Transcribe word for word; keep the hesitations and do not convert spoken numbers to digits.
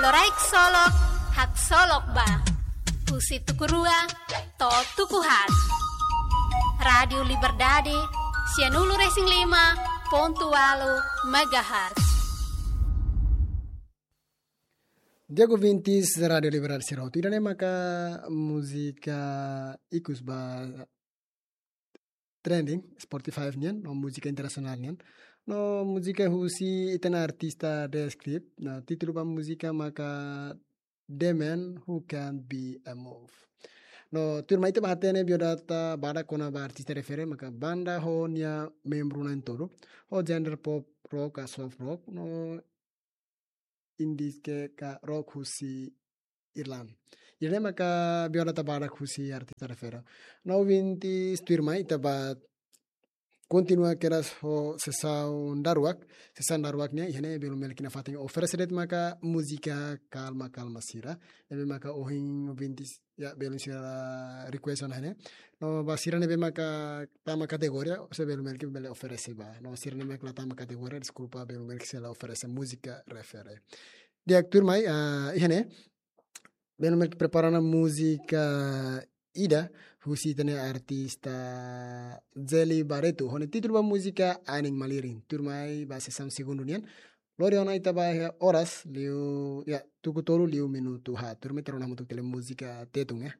Loraik Solok, haksolok ba. Husi tuku rua to'o tuku haat. Rádiu Liberdade, sianulu-resin-lima pontu ualu megahertz. Di'ak ouvintes Rádiu Liberdade sira hotu, ida-ne'e maka múzika ikus ba trending Spotify nian, no múzika internasionál nian. No múzika husi ita-nia artista The Script, no títulu ba múzika maka The Man Who Can't Be Moved. No tuirmai ita bá hatene biodata badak kona-ba artista refere, maka banda ho nia membru na'in tolu, ho genre pop rock ka soft rock, no indie ka rock husi Irlanda. Ida-ne'e maka biodata badak husi artista refere. No ouvintes, tuirmai ita bá kontinua kedas ho sesaun daruak, sesaun daruak nian, iha ne'e Belu Melki nia fatin oferese de'it maka múzika kalma-kalma sira. Ne'ebé maka ohin ouvintes, ya, belun sira request ona iha ne'e. No ba sira ne'ebé maka tama kategoria, se Belu Melki bele oferese ba. No sira ne'ebé maka la tama kategoria, deskulpa, Belu Melki sei la oferese múzika refere. Di'ak, tuirmai, ah, iha ne'e Belu Melki prepara ona múzika ida husi ita-nia artista Zeli Barreto, ho nia títulu ba múzika Anin Malirin. Tuirmai ba sesaun segundu nian. Lori ona ita ba iha oras liu, ya, tuku tolu liu minutu haat. Tuirmai ita rona hamutuk tiha múzika Tetun, ya.